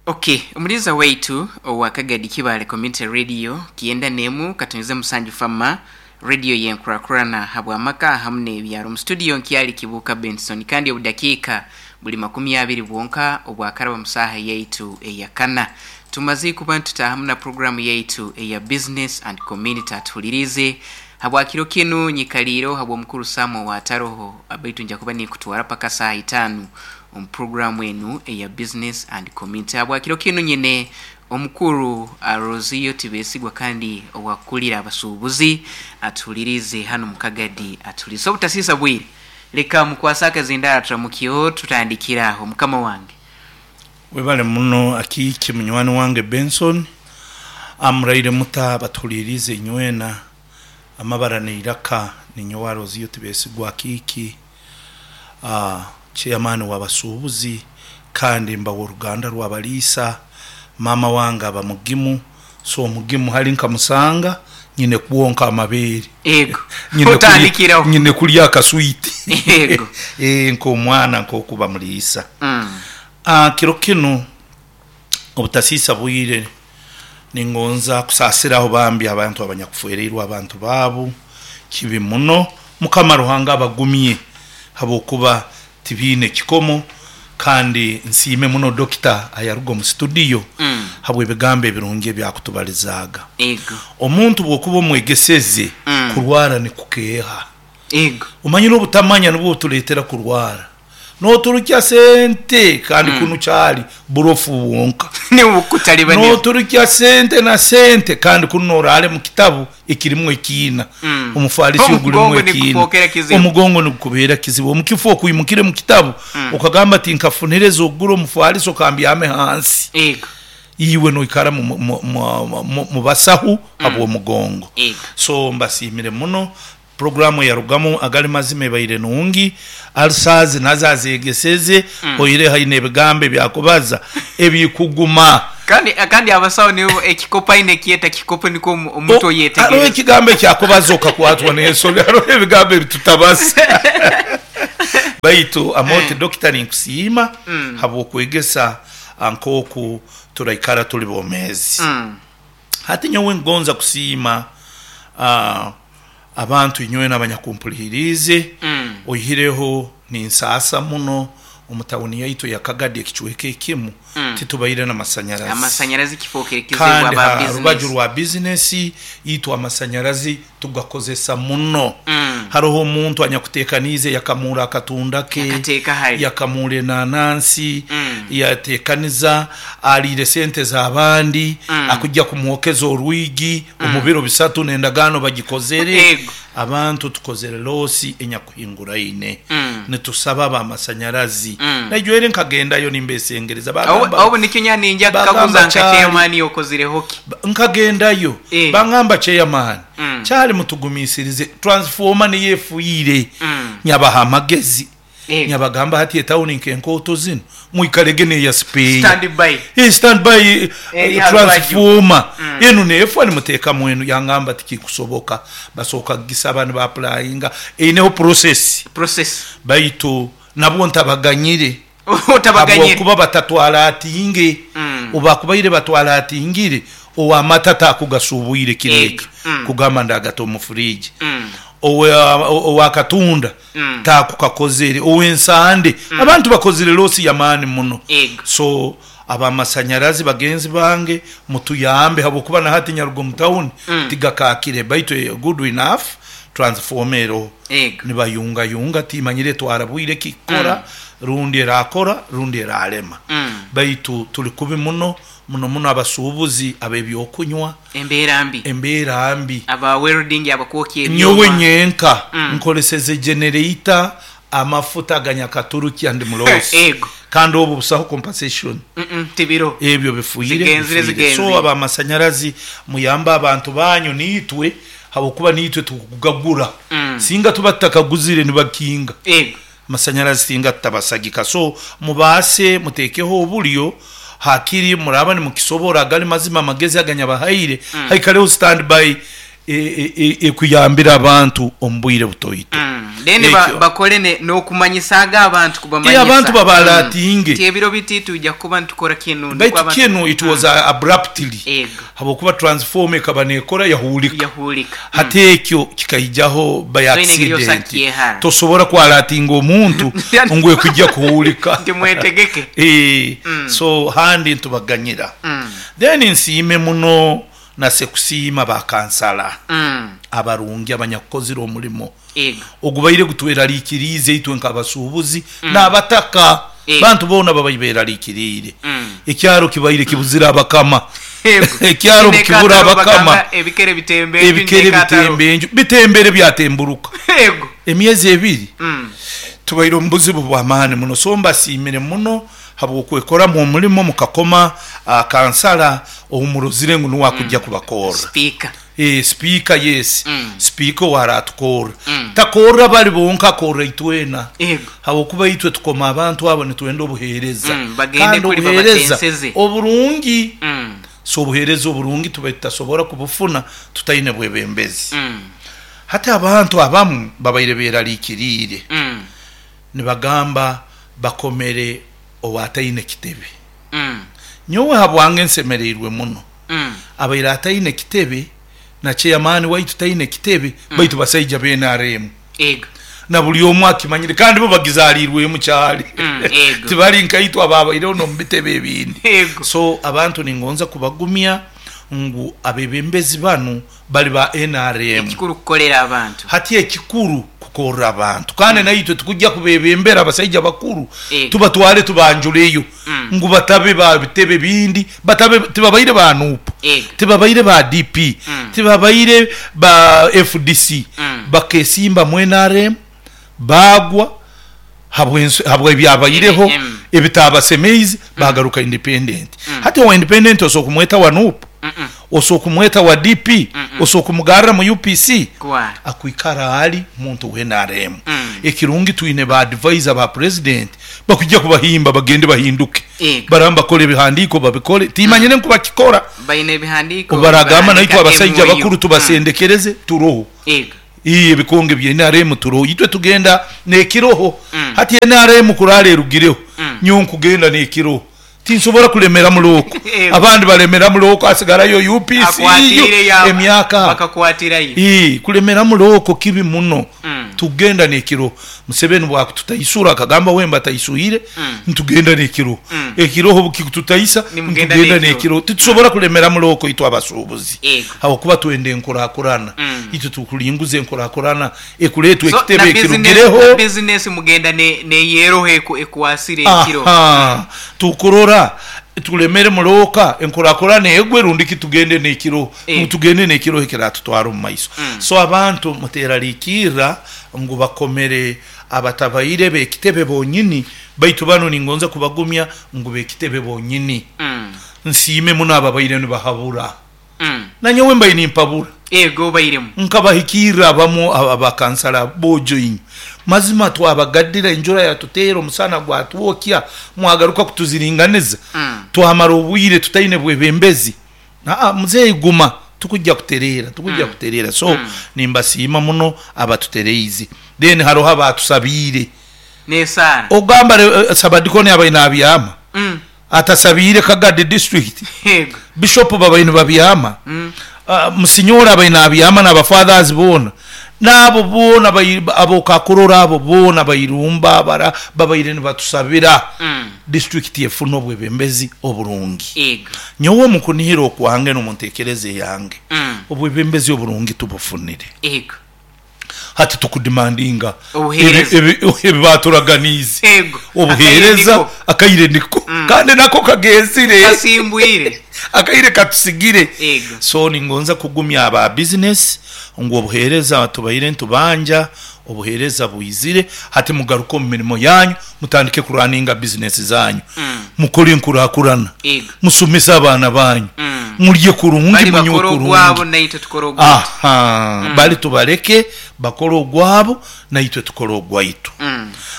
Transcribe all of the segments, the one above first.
Ok, omuliiza waitu owa Kagadi Kibaale Community Radio Kiyenda n'emu Katonyoze Musanju Fama Radio y'enkurakurana habw'amaka hamu n'ebyaro. Mu studio nkyali Kibuuka Benson kandi obudakiika buli makumi abiri bwonka obwakaraba mu saaha yaitu eyakana. Tumaze kuba nitutaahamu na puroguramu yaitu eya Business and Community. Atuhuliriize habwa kiro kinu nyikaliireho habw'omukuru Sam ow'ataroho baitu nja kuba ninkutwara paka saaha itaanu omu puroguramu enu eya Business and Community. Habwakiro kinu nyine omukuru Rosio Tibesigwa kandi owakukulira abasuubuzi atuhuliriize hanu mu Kagadi atuhuliirize. So obutasiisa bwire, leka mukwase akazindaaro turamukyeho tutandikire aho mukama wange. Webale muno Akiiki munywani wange Benson. Muraire muta abatuhuliriize inywena? Amabara n'eiraka ninyowe Rosio Tibesigwa Akiiki. Chairman w'abasuubuzi kandi mba w'oruganda rw'abaliisa. Maama wange aba mugimu, so omugimu hali nkamusanga nyine kwonka amabeere. Ego. Nyine kulya, Otandikiraho. nyine kulya akaswiti. Ego. Nk'omwana nk'oku bamuliisa. Kiro kinu obutasiisa bwire ningonza kusaasiraho bambi abantu abanyakufwereirwe abantu baabu. Kibi muno. Mukama Ruhanga abagumye habwokuba tibiine kikomo kandi nsiime muno Dokita ayaruga omu situdiyo habw'ebigambo ebirungi ebi akutubalizaaga. Ego. Omuntu bw'okuba omwegeseze kurwara nikukeeha. Ego. Omanyire obutamanya nubwo butuleetera kurwara. Noturukya sente kandi kunu kyali burofu bwonka. Nibukutalibaniza. Noturukya sente na sente kandi kunu noraale mu kitabu ekirimu ekiina. Omufalisi ogulimu Omugongo ekiina. nigukufookera kizibu. Omugongo nigukubeera kizibu. Omu kifo okwimukire mu kitabu okagamba ati nkafunire ez'okugura omufalisi okambyame hansi. Ego. Iwe noikara mu basahu habw'omugongo. Ego. So mbasiimire muno. Puroguraamu eyarugamu agali mazima ebaire nungi. Ulcers nazo azeegeseze, oihireho aine ebigambo ebyakubaza ebikuguma. Kandi kandi abasawo nibo ekikopo aine ekyeta kikopo nikwo omuntu Haroho oyetegereza. ekigambo ekyakubaza okakwatwa n'ensoni, haroho ebigambo ebitutabaza. Baitu Amooti Dokita ninkusiima habw'okwegesa nk'oku turaikara tuli bomeezi. Hati nyowe ngonza kusiima abantu inywena abanyakumpuliriize, oihireho ninsaasa muno omu tawuni yaitu eya Kagadi ekicweka ekimu titubaire n'amasanyarazi. Amasanyarazi kifookere kizibu Kandi aba ha rubaju bizinesi. rwa bizinesi itwe amasanyarazi tugakozesa muno. Haroho omuntu anyakuteekaniize yakamuura akatunda ke, Yakateeka hali. yakamuura enanansi, yateekaniza, aliire sente z'abandi, akujja kumwokeza orwigi omu biro bisatu n'endagaano bagikozere. Ego. Abantu tukozere loosi enyakuhinguraine. Nitusaba ab'amasanyarazi. Naijwere nkagendayo nimbesengereza, bagamba, Obu nikyo nyowe ninja bagamba kukaguza nka kyali chairman okozireho ki? Nkagendayo Eh. bangamba chairman kyali mutugumiisirize transformer niyo efiire. Nyabaha amagezi. Ego. Nyabagamba hati etawuni nk'enkooto zinu mwikalege n'eya sipeeya. Stand by. Stand by Eri ha rubaju. transformer. Enu neefwa nimuteekamu enu. Yangamba tikikusoboka. Basooka kugisaba niba applyinga. Eineho process. Process. Baitu nabwo ntabaganyire. Otabaganyire. Habwokuba batatwara atinge. Obu bakubaire batwara atingire, ow'amata takugasubwire kiro Ego. ekyo. Kugamba ndagata omu fridge. Ow'akatunda takukakozere. Ow'ensande. Abantu bakozire losi y'amaani muno. Ego. So ab'amasanyarazi bagenzi bange mutuyambe habwokuba na hati nyaruga omu tawuni tigakaakire baitu good enough transformer eroho. Ego. Nibayungayunga timanyire etwara bwire ki kukora rundi erakora rundi eralema. Baitu tuli kubi muno muno muno abasuubuzi ab'ebyokunywa. Embeera mbi. Embeera mbi. Aba welding abakwokya Nyowe ebyoma. nyenka nkoleseze generator amafuta aganyakaturukya ndi muloosi. Ego. Kandi obu busaho compensation. Tibiro. Ebyo bifiire, Zigenzire, bifiire. So zigenzire. ab'amasanyarazi muyambe abantu banyu niitwe habwokuba niitwe tukugagura. Singa tuba tutakaguzire nibakinga. Ego. Amasanyarazi singa tutabasagika. So mubaase muteekeho obulyo hakiri muraba nimukisobora agali mazima amagezi aganyabahaire haikaleho stand by Ekuyambire abantu omu bwire butoito. Then Ekyo. bakole n'okumanyisaaga abantu kubamanyisa. Abantu babalatinge. Nti ebiro biti twija kuba nitukora kinu nukwo Baitu abantu kinu it was abruptly Ego. habwokuba transformer ekaba nekora yahuulika. Yahuulika. Hati ekyo kikaijaho by So engeri accident. osakyehara. Tosobora kwalatinga omuntu ngu ekujja kuhuulika. Nti mwetegeke. So handi ntubaganyira. Then nsiime muno nasekusiima bakansala abarungi abanyakukozire omulimo ogubaire gutweraliikiriize itwe nk'abasuubuzi n'abataka. Bantu boona babaire beraliikiriire. Ekyaro kibaire kibuzire abakama. Ekyaro Kine kibura kataro abakama. bagamba ebikere bitembe enju, Ebikere ne kataro. bitembe enju, bitembere byatemburuka. Emyezi ebiri tubaire omu buzibu bw'amaani muno. So mbasiimire muno habw'okwekoramu omulimo mukakoma kansala oumurozire ngu nuwe akujja kubakorra. Speaker. Speaker, yes. Speaker owaratukorra. Takorra bali bonka, akorra itwena. Habwokuba itwe tukoma abantu abo nitwenda obuheereza. Bagende Kandi kuri obuheereza babatenseze. oburungi. So obuheereza oburungi tuba tutasobora kubufuna tutaine bwebembezi. Hati abantu abamu babaire beraliikiriire. Nibagamba bakomere owataine kitebe. Nyowe habwange nsemereirwe muno. Abaire ataine kitebe na chairman waitu taine kitebe, baitu basaija ba NRM. Na buli omwe akimanyire kandi bo bagizaalirwemu kyali. Tibali nkaitwe ababaireho n'omu bitebe ebindi. So abantu ningonza kubagumya ngu abebembezi banu bali ba NRM. Ekikuru kukolera abantu. Hati ekikuru kukorera abantu. Kandi naitwe tukujja kubebembera abasaija bakuru. Tubatwale tubanjuleyo. Ngu batabe ba bitebe bindi, batabe tibabaire ba NUP. Tibabaire ba DP. Tibabaire ba FDC. Bakesimba mu NRM bagwa habwe ebyabaireho ebitabasemeize bagaruka independent. Hati owa independent osobola kumweta wa NUP, osobola kumweta wa DP, osobola kumugarra mu UPC. Akwikara ali muntu wa NRM. Ekirungi twine ba advisor ba president bakujja kubahimba bagende bahinduke. Baramba bakole ebihandiiko babikole. Timanyire nku bakikora. Baine ebihandiiko. Baragamba naitwe Bahandika abasajja MOU. bakuru tubasendekereze turoho. Iyi ebikonge bya NRM turoho. Itwe tugenda n'ekiroho. Hati NRM kurara erugireho. Nyowe nkugenda n'ekiroho. Tinsobora kulemera muloko. Abandi balemera muloko asigarayo UPC Akwatire ya emyaka. Bakakwatirayo. Kulemera muloko kibi muno. Tugenda n'ekiro. Museveni bwakututaisura akagamba wemba taisuire, ntugenda n'ekiro. Ekiroho bukikututaisa, Nimugenda ntugenda n'ekiro. n'ekiro. Titusobora kulemera muloko itwe abasuubuzi. Habwokuba twenda enkurakurana. Itwe tukulinguza enkurakurana ekuleetwa So, ekitebe na ekirugireho. na business mugenda neyeroho ekwasire ekiro. Tukurora tulemere muloka enkurakurana egwe rundi kitugende n'ekiro. Tugende n'ekiro ekiratutwara omu maiso. So abantu muteraliikirra ngu bakomere abatabaire b'ekitebe bonyini, baitu bano ningonza kubagumya ngu b'ekitebe bonyini. Nsiime muno ababaire nibahabura. Nanyowe mbaire nimpabura. Ego bairemu. Nkabahikirra abamu abakansala bojo inyu. Mazima twabagaddira enjura yatuteera omusana gwatwokya mwagaruka kutuziringaniza. Twamara obwire tutaine bwebembezi. Muzeeyi guma tukujja kutereera, tukujja kutereera. So nimbasiima muno abatutereize. Then haroho abatusabiire. Nesaara. Ogamba Sabadikoni abaine abyama. Atasabiire Kagadi district. Bishop babaine babyama. Musinyora abaine abyama n'abafathers boona. N'abo boona abokakurora abo boona bairumba bara babaire nibatusabira. District efuna obwebembezi oburungi. Nyowe omukunihira okwange n'omuntekereza eyange. Obwebembezi oburungi tubufunire. Hati tukudemandinga Obuheereza. ebibaturaganize. Obuheereza Akaire niko. akaire niko. Kandi nako kagenzire. Kasimbwire. Akaire katusigire. So ningonza kugumya aba business ngu obuheereza tubaire ntubanja, obuheereza bwizire, hati mugaruke omu mirimo yanyu, mutandike kurwaninga business zanyu. Mukore enkurakurana. Musomese abaana banyu. Mulye kurungi, Bali munywe bakore kurungi. ogwabo naitwe tukore ogwaitu. Bali tubaleke bakore ogwabo naitwe tukore ogwaitu.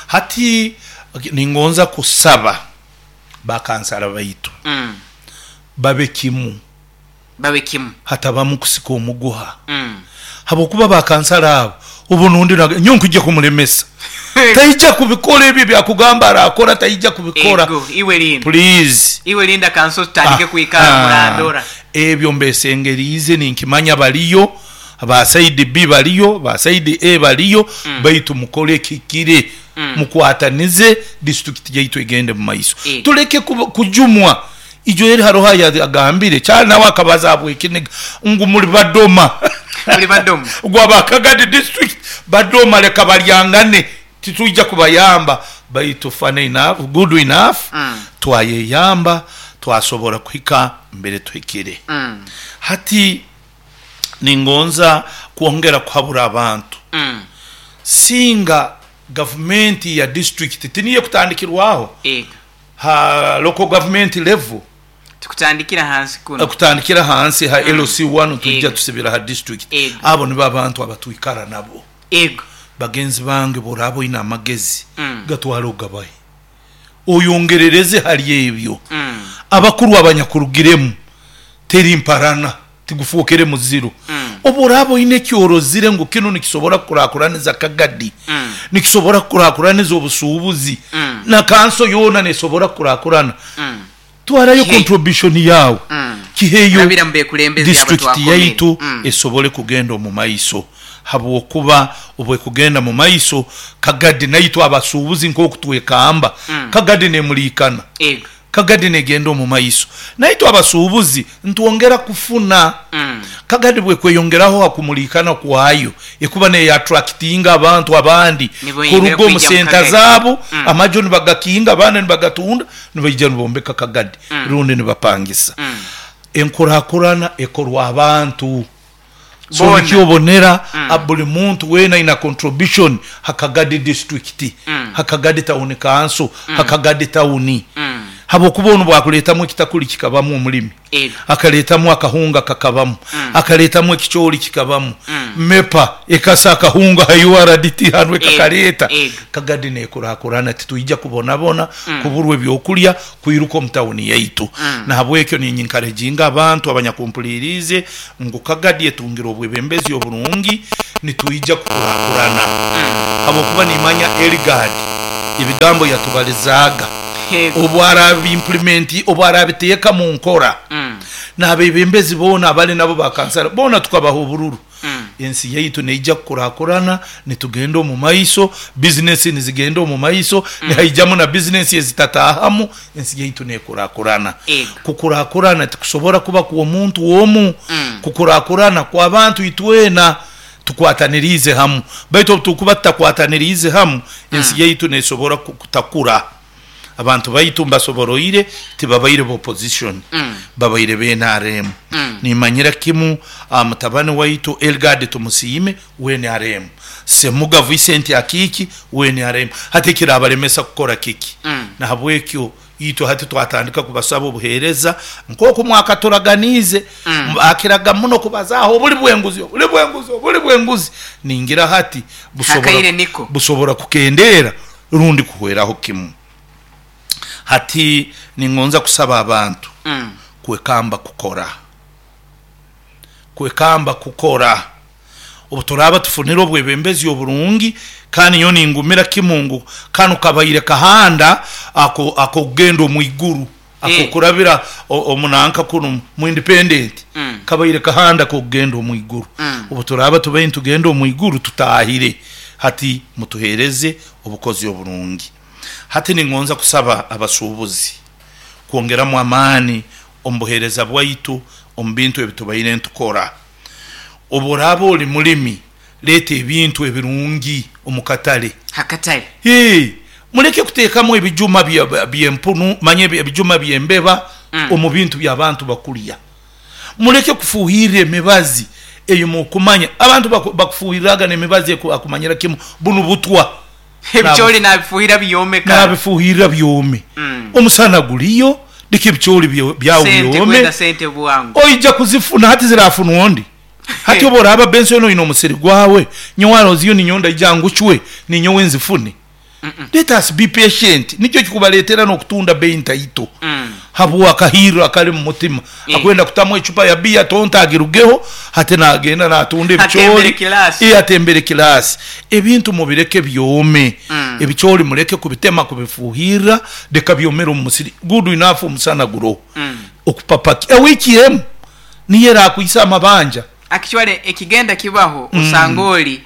Hati ningonza kusaba bakansala baitu. Babe kimu. Babe kimu. Hatabamu kusika omuguha. Habwokuba ba kansala abo obu nundi nyowe nkwija kumulemesa. Taija kubikora ebyo ebyakugamba arakora taija kubikora. Ego, iwe linda. Please. Iwe linda kanso tutandike kwikara murandora. Ebyo mbesengeriize ninkimanya baliyo, ba side B baliyo, ba side A baliyo, baitu mukole ekihikire. Mukwatanize disiturikiti yaitu egende mu maiso. Tuleke kujumwa. Ijo eri haroho ayagambire, kyali nawe akabaza habw'ekiniga ngu muli badoma. Muli badoma. Ngu aba Kagadi district badoma leka balyangane titwija kubayamba. Baitu funny enough, good enough, twayeyamba twasobora kuhika mbere tuhikire. Hati ningonza kwongera kuhabura abantu. Singa gavumenti ya district tiniyo ekutandikirwaho ha local government level. Tukutandikira hansi kuno. Kutandikira hansi ha LC1 twija tusibira ha district. Abo nibo abantu abatwikara nabo. Bagenzi bange bworaba oine amagezi gatwale ogabahe. Oyongerereze hali ebyo. Abakuru abanyakurugiremu teri mparana tigufookere muziro. Obu oraaba oine eki orozire ngu kinu nikisobora kukurakuraniza Kagadi, nikisobora kukurakuraniza obusuubuzi, na kanso yoona nesobora kukurakurana, twarayo contribution yaawe, kiheyo Rabira mu bekulembeze abo district twakomere. yaitu esobole kugenda omu maiso. Habwokuba obu ekugenda mu maiso, Kagadi naitwe abasuubuzi nk'oku twekamba, Kagadi nemuliikana. Kagadi negenda omu maiso. Naitwe abasuubuzi nitwongera kufuna. Kagadi bwekweyongeraho ha kumuliikana kwayo, ekuba neyatractinga abantu abandi Niboyongera kuruga omu kwija mu senta Kagadi. zaabo, amaju nibagakinga, abandi nibagatunda, nibaija nibombeka Kagadi rundi nibapangisa. Enkurakurana ekorwa abantu. So Boona. nikyo obonera buli muntu weena aina contribution ha Kagadi district, ha Kagadi town council, ha Kagadi town. Habwokuba onu bwakuleetamu ekitakuli kikabamu omulimi, akaleetamu akahunga kakabamu, akaleetamu ekicoori kikabamu, MEPA ekasa akahunga ha URDT hanu ekakaleeta. Kagadi nekurakurana, titwija kubonabona, kuburwa ebyokulya, kwiruka omu tawuni yaitu. Nahabwekyo ninyinkaraginga abantu abanyakumpuliriize ngu Kagadi etungire obwebembezi oburungi, nitwija kukurakurana. Habwokuba nimanya Eligard ebigambo yatubalizaaga, obu arabi-implement, obu arabiteeka mu nkora, n'abebembezi boona abali nabo ba kansara boona tukabaha obururu, ensi yaitu neija kukurakurana, nitugenda omu maiso, bizinesi nizigenda omu maiso, nihaijamu na bizinesi ezitataahamu, ensi yaitu nekurakurana. Kukurakurana tikusobora kuba kw'omuntu omu, kukurakurana kw'abantu itwena tukwataniriize hamu. Baitu obu turukuba tutakwataniriize hamu, ensi yaitu nesobora kutakura. Abantu baitu mbasoboroire tibabaire ba opposition, babaire ba NRM. Nimanyira kimu mutabani waitu Elgard Tumusiime wa NRM, Semuga Vincent Akiiki wa NRM. Hati ekirabalemesa kukora kiki? Nahabwekyo itwe hati twatandika kubasaba obuheereza nk'oku mwakaturaganiize. Akiraga muno kubazaaho obuli bw'enguzi, obuli bw'enguzi, obuli bw'enguzi. Ningira hati Hakaire niko. busobora kukendeera rundi kuhweraho kimu. Hati ningonza kusaba abantu kwekamba kukora. Kwekamba kukora. Obu turaaba tufunire obwebembezi oburungi, kandi nyowe ningumira kimu ngu kanu kabaire kahanda ak'okugenda omu iguru, ak'okurabira omunanka kunu mu independent, kabaire kahanda ak'okugenda omu iguru. Obu turaaba tubaire nitugenda omu iguru tutaahire. Hati mutuheereze obukozi oburungi. Hati ningonza kusaba abasuubuzi kwongeramu amaani omu buheereza bwaitu omu bintu ebi tubaire nitukora. Obu oraaba oli mulimi, leeta ebintu ebirungi omu katale. Hakatale. Hee, muleke kuteekamu ebijuma by'empunu, manya ebijuma by'embeba omu bintu by'abantu bakulya. Muleke kufuuhirra emibazi ei mukumanya. Abantu bakufuuhirraga n'emibazi akumanyira kimu bunu butwa. Ebicoori nabifuuhirra byome kara. Nabifuuhirra byome. Omusana guliyo, leka ebicoori byawe Sente byome. kwenda sente bwangu. Oija kuzifuna, hati zirafunwa ondi. Hati obu oraaba Benson oine omusiri gwawe, nyowe aroziyo ninyowe ndaija ngucwe, ninyowe nzifune. Let us be patient nikyo kikubaletera n'okutunda bei ntaito habw'akahirro akali mu mutima akwenda kutamu ecupa ya biya tonto agirugeho hati nagenda natunda Atembere ebicooli kilaasi. Atembere kilaasi. Ebintu mubireke byome. Ebicooli muleke kubitema kubifuuhirra leka byomere omu musiri. Good enough omusana guroho. Okupapa ewiiki emu niyo erakwisa amabanja. Actually ekigenda kibaho osanga oli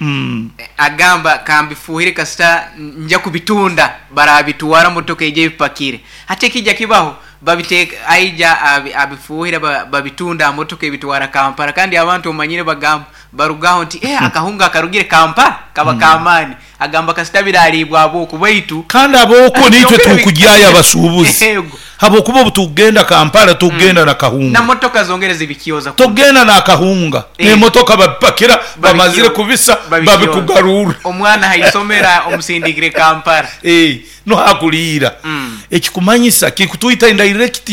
agamba kambifuuhire kasita nja kubitunda barabitwara motoka eija ebipakire. Hati ekija kibaho babiteeka aija abifuuhira babitunda aha motoka ebitwara Kampala kandi abantu omanyire bagamba barugaho nti eh akahunga akarugire Kampala kaba k'amaani. Agamba kasita birariibwa ab'oku baitu Kandi ab'oku naitwe Yongera tukugyayo abasuubuzi Yego. habwokuba obu tukugenda Kampala tukugenda na kahunga. Na motoka zongere zibikyoza kunu. Tokugenda n'akahunga n'emotoka babipakira bamazire kubisa babikugarurra. Omwana haisomera omusindikire Kampala. Nuho akuliira. Ekikumanyisa kikutwita indirect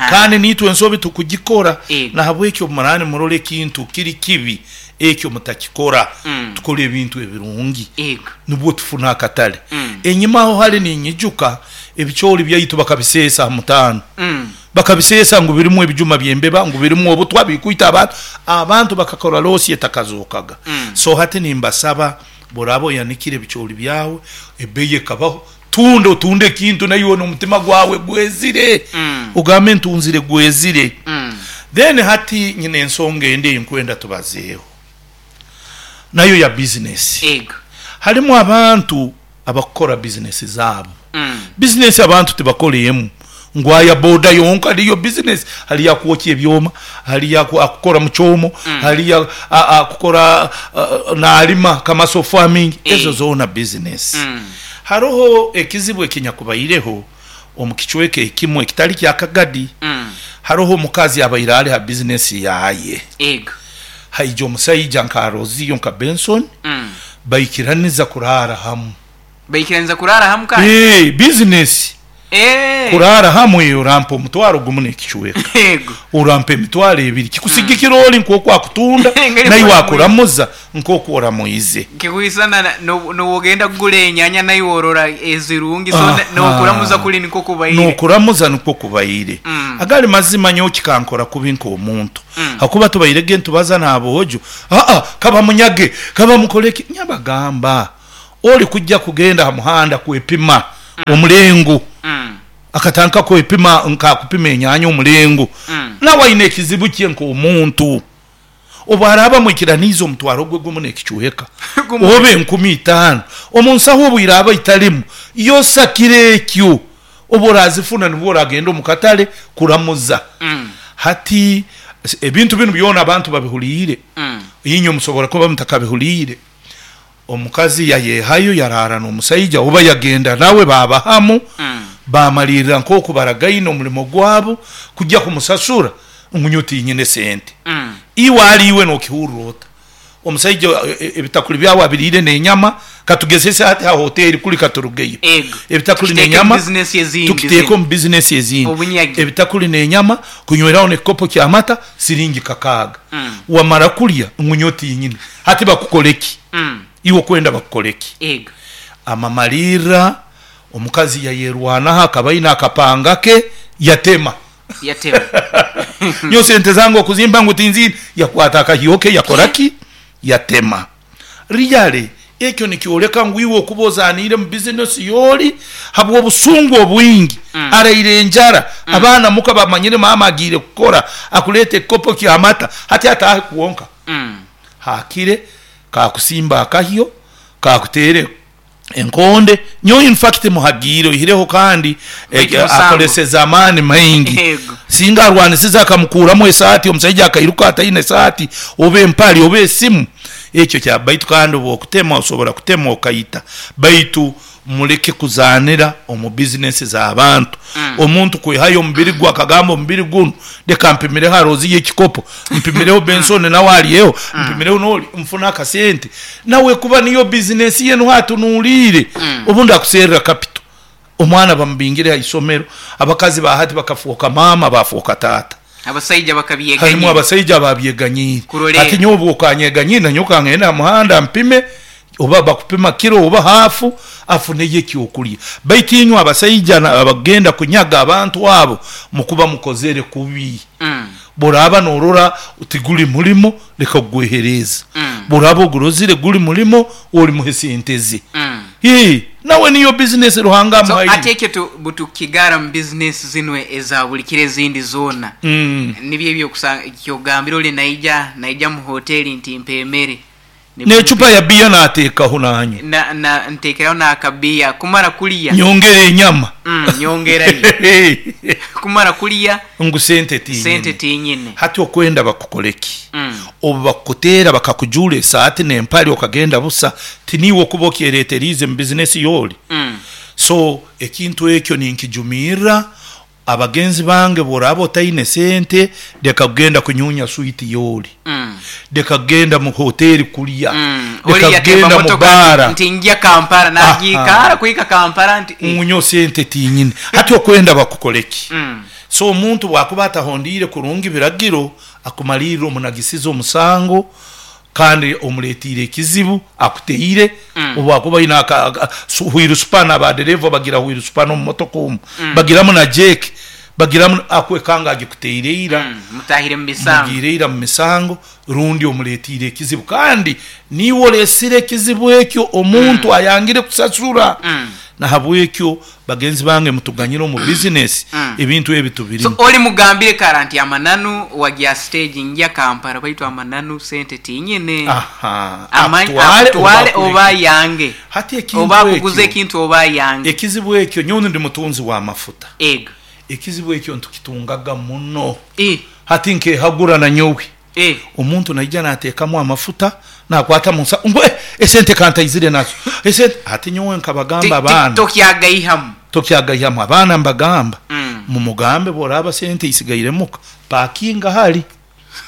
kandi naitwe ensobi tukugikora. Nahabweki obu muraaba nimurora ekintu kiri kibi ekyo mutakikora. Tukole ebintu ebirungi nubwo tufune akatale. Enyima aho hali ninyijuka ebicooli byaitu bakabiseesa ha mutaano. Bakabiseesa ngu birimu ebijuma by'embeba, ngu birimu obutwa bikwita abantu. Abantu bakakora loosi etakazookaga. So hati nimbasaba bworaaba oyanikire ebicooli byawe ebeeyi ekabaho, tunda otunde ekintu naiwe n'omutima gwawe gwezire. Ogambe ntunzire gwezire. Then hati nyine ensonga endi ei nkwenda tubazeeho. Nayo ya bizinesi. Harimu abantu abakukora bizinesi zaabo. Bizinesi abantu tibakora emu ngu aya boda yonka niyo bizinesi. Hariyo akwokya ebyoma, hariyo akukora mu kyomo, hariyo akukora nalima kamaso farming, ezo zoona bizinesi. Haroho ekizibu ekinyakubaireho omu kicweka ekimu ekitali kya Kagadi. Haroho omukazi abaire ali ha bizinesi yaye. Haija omusaija nka Roziyo nka Benson, baikiraniza kuraara hamu. Baikiraniza kuraara hamu kandi? Bizinesi. Kuraara hamu orampa omutwaro gumu n'ekicweka. Orampa emitwaro ebiri. Kikusigikira oli nk'oku akutunda, naiwe akuramuza nk'oku oramuize. Kikwisana n'ogenda kugura enyanya naiwe orora ezirungi, so n'okuramuza kuri nikwo kubaire. N'okuramuza nikwo kubaire. Agali mazima nyowe kikankora kubi nk'omuntu. Hakuba tubairege nitubaza n'aboojo, aa kaba munyage, kaba mukoleki. Nyabagamba oli kujja kugenda ha muhanda kwepima omulengo. Akatandika kwepima nkakupima enyanya omulengo. Nawe aine ekizibu kye nk'omuntu. Obu araaba mwikiraniize omutwaro gwe gumu n'ekicweka, oba enkumi itaano, omu nsaho obu iraaba italimu, yosakire ekyo. Obu orazifuna nibwo oragenda omu katale kuramuza. Hati ebintu binu byona abantu babihuliire. Inywe musobora kuba mutakabihuliire. Omukazi yayehayo yaraara n'omusaija oba yagenda nawe baaba hamu, bamalirra nk'oku baragaine omulimo gwabo kujja kumusasura ngu nyowe tinyine sente. Iwe ali iwe n'okihurra ota? Omusaija ebitakuli byawe abiriire n'enyama, katugezese hati ha hoteri kuli katurugeyo. Ebitakuli Tukiteeke n'enyama, omu bizinesi ezindi tukiteeke zinu. omu bizinesi ezindi. Obunyagi. Ebitakuli n'enyama, kunyweraho n'ekikopo ky'amata, siringi kakaaga. Wamara kulya ngu nyowe tinyine. Hati bakukore ki? Iwe okwenda bakukore ki? Amamalirra omukazi yayerwanaho akaba aine akapanga ke yatema. Yatema. Nyowe sente zange okuzimba ngu tinziine, yakwata akahyo ke yakora ki? Yatema. Really ekyo nikyoleka ngu iwe okuba ozaaniire mu bizinesi y'oli habw'obusungu obwingi, araire enjara, abaana muka bamanyire maama agiire kukora, akuleeta ekikopo ky'amata, hati ataahe kwonka. Haakire kakusimba akahyo, kakuteere enkonde. Nyowe in fact muhagiire oihireho kandi Baitu musango. akoleseze amaani maingi. Singa arwanisize akamukuramu esaati, omusaija akairuka ataine esaati oba empali oba esimu, ekyo kya baitu kandi obu okutema osobora kutema okaita. Baitu muleke kuzaanira omu bizinesi z'abantu. Omuntu kwehayo omubiri gwe akagamba omubiri gunu leka mpimireho Aroziyo ekikopo, mpimireho Benson nawe alyeho, mpimireho n'oli nfune akasente. Nawe kuba niyo bizinesi ye nuho atunuuliire, obundi akuserra capital. Omwana bamubingire ha isomero, abakazi ba hati bakafooka maama bafooka taata. Abasaija bakabyeganyiire. Harimu abasaija ababyeganyiire. Kurorerra. Hati nyowe obu okanyeganyiire nanyowe kangende ha muhanda mpime. Oba bakupima kiro oba hafu, afuneyo ekyokulya. Baitu inywe abasaija abagenda kunyaga abantu abo, mukuba mukozere kubi. Bw'oraaba noorora tiguli mulimo, leka kugwehereeza. Bw'oraaba ogurozire guli mulimo, olimuhe sente ze. Ii, nawe niyo bizinesi Ruhanga So amuhaire. ati ekyo tu butukigara mu bizinesi zinu eza buli kiro ezindi zoona. Nibyo ebyo okusanga kyogambire oli naija naija mu hoteri nti mpa emere. N'ecupa ya bbiya naateekaho naanywa. Na, na, nteekeraho n'akabiya kumara kulya. Nyongera enyama. Nyongerayo. Kumara kulya. Ngu sente tinyine. Sente tinyine. Hati okwenda bakukole ki? Obu bakukuteera bakakujuura esaati n'empale okagenda busa, tiniiwe okuba okyereeteriize mu bizinesi y'oli? So ekintu ekyo ninkijumirra. Abagenzi bange bw'oraaba otaine sente, leka kugenda kunyunya switi y'oli. Leka kugenda mu hoteeri kulya. Oli Leka yatemba kugenda mu motoka baara. nti ngya Kampala, Aha. nagiikara kuhika Kampala nti eh. Ngu nyowe sente tinyine. Hati okwenda bakukole ki? So omuntu bw'akuba atahondiire kurungi biragiro, akumalirra omunagisize omusango kandi omuletiire ekizibu, akuteire, obu akuba aine wheel spanner, ba dereeva bagira wheel spanner omu motoka omu, bagiramu na jack, bagiramu, akwekanga agikuteire ira. Mutahire mu misango. Mugiire ira mu misango, rundi omuletiire ekizibu. Kandi niiwe olesire ekizibu ekyo, omuntu ayangire kusasura. Nahabwekyo bagenzi bange mutuganyire omu bizinesi, ebintu ebi So tubirimu. oli mugambire kara nti amananu wagya stage ngya Kampala baitu amananu sente tinyine. Aha, Akutwale akutwale oba oba akuleke. ayange. Hati ekintu Oba akuguze ekyo, ekintu oba ayange. ekizibu ekyo, nyowe ndi mutunzi w'amafuta. Ego. Ekizibu ekyo ntukitungaga muno. E. Hati nkehagura na nyowe. E. Omuntu naija nateekamu amafuta, nakwata mu nsa, ngu esente kantaizire nazo. Esente, hati nyowe nkabagamba abaana. Tokyagaihamu. Tokyagaihamu. Abaana mbagamba, mumugambe bw'oraaba sente isigaire muka, pakinga hali.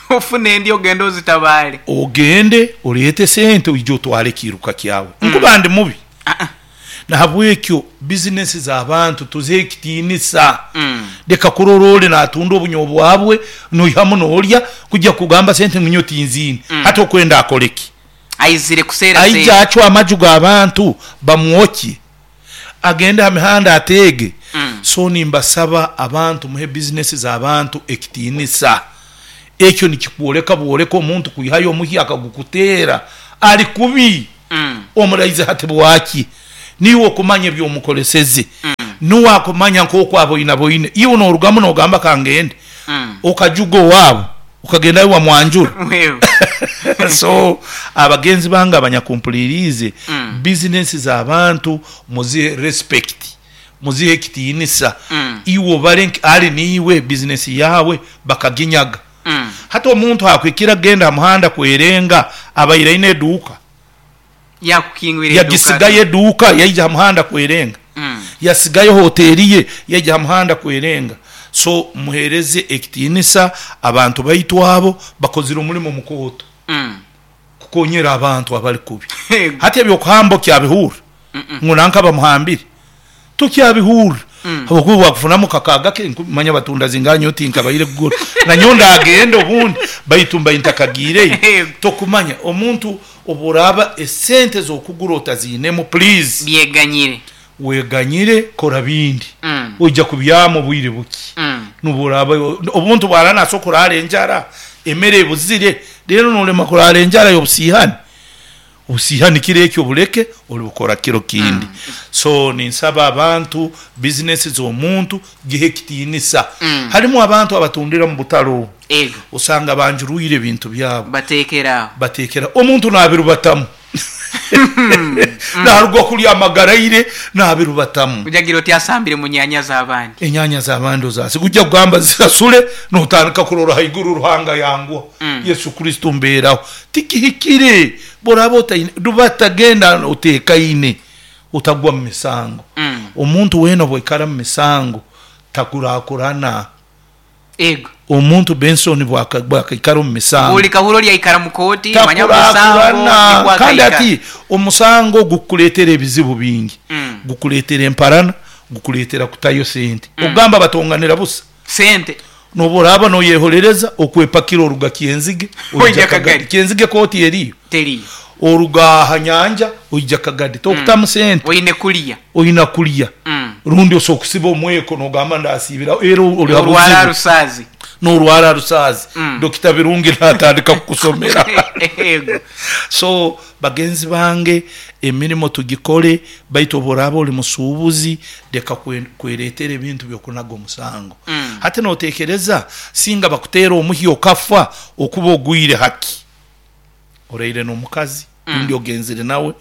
Ofune endi ogende ozitabaale. Ogende oreete sente oije otwale ekiiruka kyawe. Nkuba ndi mubi. Nahabwekyo bizinesi z'abantu tuzihe ekitiinisa. Leka kurora oli naatunda obunyobwa bwe, noihamu noolya, kujya kugamba sente ngu nyowe tinziine. Hati okwenda akole ki? Aizire kuseera Aije sente. acwe amaju g'abantu bamwokye, agende ha mihanda ateege. So nimbasaba abantu muhe bizinesi z'abantu ekitiinisa. Ekyo nikikwoleka bwoleka omuntu kwihayo omuhyi akagukuteera ali kubi. Omuraize hati bwaki? Niiwe okumanya eby'omukoleseze. Nuwe akumanya nk'oku aboinaboine. Iwe noorugamu noogamba kangende. Okajuga owaabo, okagendayo wamwanjura. So abagenzi bange abanyakumpuliriize, bizinesi z'abantu muzihe respect, muzihe ekitiinisa. Iwe obare nki ali niiwe bizinesi yaawe bakaginyaga. Hati omuntu akwikira kugenda ha muhanda kwerenga abaire aine eduuka. Yakukingwire eduuka. Yagisigayo eduuka yaija ha muhanda kwerenga. Yasigayo hoteeri ye yaija ha muhanda kwerenga. So muheereze ekitiinisa abantu baitu abo bakozire omulimo mukooto. Kukonyera abantu abali kubi. Hati eby'okuhamba okyabihurra ngu nanka bamuhambire? Tokyabihurra. Habwokuba bwakufunamu kakaaga ke, manya batunda zingaha nyowe tinkabaire kugura. Na nyowe ndagenda obundi baitu mbaire ntakagiireyo. Tokumanya omuntu obu oraaba esente z'okugura otaziinemu please. Byeganyire. Weganyire kora bindi. Oija kubyama obwire buki. N'obu oraaba omuntu bwaraaba naasobora kuraara enjara, emere ebuzire, reero noolema kuraara enjara y'obusiihani? Obusiihani kiro ekyo obuleke, olibukora kiro kindi. So ninsaba abantu, bizinesi z'omuntu gihe ekitiinisa. Harimu abantu abatundira omu butale obu, osanga banjurwire ebintu byabo. Bateekera aho. Bateekera, omuntu naabirubatamu. Naaruga kulya amagaraire naabirubatamu. Ojagira oti asambire mu nyaanya z'abandi. Enyaanya z'abandi ozasiga. Ojja kugamba zisasule, nootandika kurora haiguru Ruhanga yanguha. Yesu Kristo mbeeraho. Tikihikire. Bw'oraaba otaine, rubata genda oteekaine, otagwa mu misango. Omuntu weena obu aikara mu misango, takurakurana. Ego. Omuntu Benson bwakaikara omu misango. Buli kahuro oli aikara mu kooti, manya mu misango Takurakurana. nikwo Kandi akaikara. hati omusango gukukuleetera ebizibu bingi. Gukuleetera emparana, gukuleetera kutayo sente. Ogamba batonganira busa. Sente. N'obu oraaba noyeholereza okwepakira oruga Kyenzige oija Kagadi. Kyenzige kooti eriyo? Teriyo. Oruga ha nyanja oija Kagadi. Tokutamu sente. Oine kulya. Oina kulya. Rundi osobola kusiba omweko nogamba ndasiibiraho era ori ha buzibu. Norwara rusaazi. Norwara rusaazi. Dokita Birungi natandika kukusomera. So bagenzi bange emirimo tugikole baitu obu oraaba ori musuubuzi leka kwereetera ebintu by'okunaga omusango. Hati notekereza singa bakuteera omuhyo okafa okuba ogwire haki? Oraire n'omukazi rundi ogenzire nawe,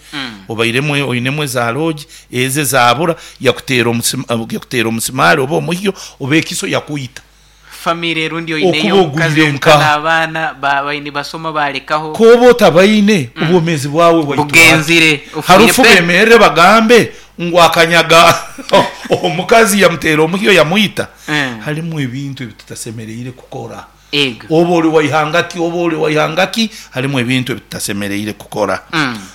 obairemu oinemu eza loogi, ezo ezaabura yakuteera yakuteera omusimaari oba omuhyo oba ekiso yakwita. Famire rundi oineyo Okuba omukazi ogwire omuka nkaha? n'abaana nibasoma balekaho. K'oba otabaine, obwomeezi bwawe bwaitwa hati. Bugenzire, ofiire Harufu pe. bemerre bagambe ngu akanyaga omukazi yamuteera omuhyo yamwita. Harimu ebintu ebi tutasemereire kukora. Ego. Oba ori wa ihanga ki, oba ori wa ihanga ki, harimu ebintu ebi tutasemereire kukora.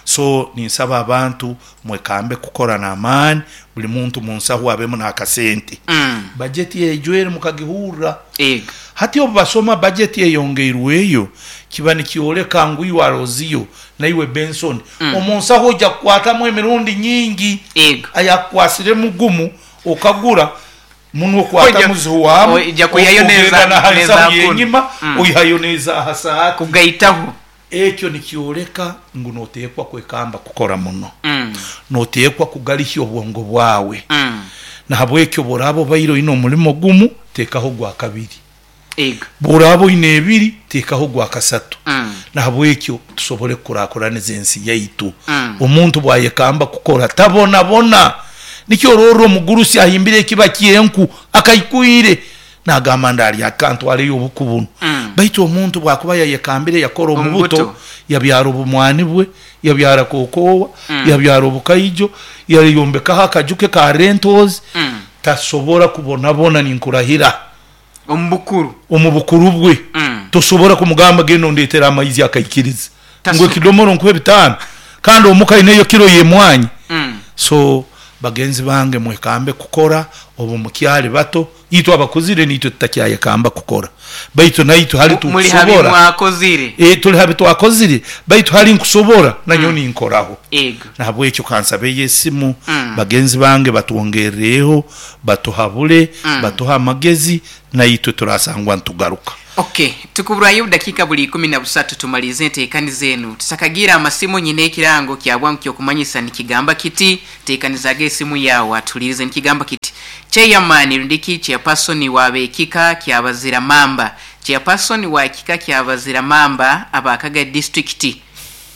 So ninsaba abantu mwekambe kukora n'amaani, buli muntu munsahu abemu n'akasente. Bajeti egyo eri mukagihurra? Ego. Hati obu basoma bajeti eyongeirweyo, kiba nikyoleka ngu iwe Aloziyo naiwe Benson, omu nsahu oija kukwatamu emirundi nyingi. Ego. Ayakukwasiremu gumu okagura, Munwe okwata muzihu waamu, Oija kwihayo ogenda n'eza na ha n'eza nsahu kunu. y'enyima oihayo n'eza ha saati. Kugaitaho. Ekyo nikyoleka ngu noteekwa kwekamba kukora muno. Noteekwa kugarihya obwongo bwawe. Nahabwekyo obu oraaba obaire oine omulimo gumu, teekaho ogwa kabiri. Ego. Obu oraaba oine ebiri, teekaho ogwa kasatu. Nahabwekyo tusobole kukurakuraniza ensi yaitu. Omuntu obu ayekamba kukora tabonabona. Nikyo ororra omugurusi ahimbire ekiba ky'enku akaikwire, nagamba ndalya ki kantwaleyo obuku bunu. Baitu omuntu obu akuba yayekambire yakora omu buto, yabyara obumwani bwe, yabyara kokoowa, yabyara obukaijo, yayombekaho akaju ke ka rentals, tasobora kubonabona ninkurahira. Omu bukuru. Omu bukuru bwe. Tosobora kumugamba genda ondetere amaizi akaikiriza ngu ekidomoro nkuhe bitaano kandi omuka aineyo kiro y'emwanyi. So bagenzi bange mwekambe kukora obu mukyali bato. Itwe abakuzire niitwe tutakyayekamba kukora baitu naitwe hali Muli ha bi tukusobora. mwakozire. Tuli ha bi twakozire baitu hali nkusobora nanyowe ninkoraho. Ego. Nahabwekyo kansabeyo esimu bagenzi bange batwongerreho Batuhabule, batuhe amagezi, naitwe turasangwa nitugaruka. Ok, tukuburwayo obudakiika buli ikumi na busatu tumalirize enteekaniza enu. Tutakagiire amasimu nyine ekirango kya bwangu ky'okumanyisa nikigamba kiti, Teekanizaaga esimu yaawe atuhuliirize nikigamba kiti, Chairman rundiki Chairperson wa b'ekika kya Bazira Mamba, Chairperson wa kika kya Bazira Mamba aba Kagadi District,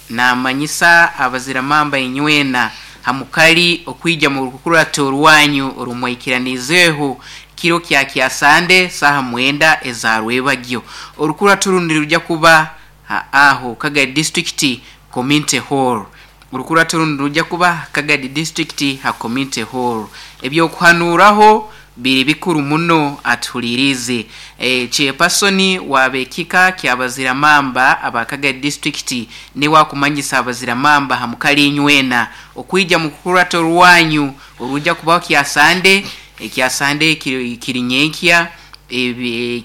Naamanyisa abaziramamba inywena ha mukali okwija mu rukurato rwanyu oru mwaikiraniizeho kiro kya Kyasande saaha mwenda eza rwebagyo. Orukurato runu nirwija kuba ha aho Kagadi District Community Hall. Orukurato runu nirwija kuba ha Kagadi District ha Community Hall. Eby'okuhanuuraho Biri bikuru muno atuhuliriize. Chairperson wa b'ekika kya Baziramamba aba Kagadi District niwe akumanyisa Abaziramamba ha mukali inywena okwija mu kukurata orwanyu orwija kubaho Kyasande, Kyasande kiri nyenkya,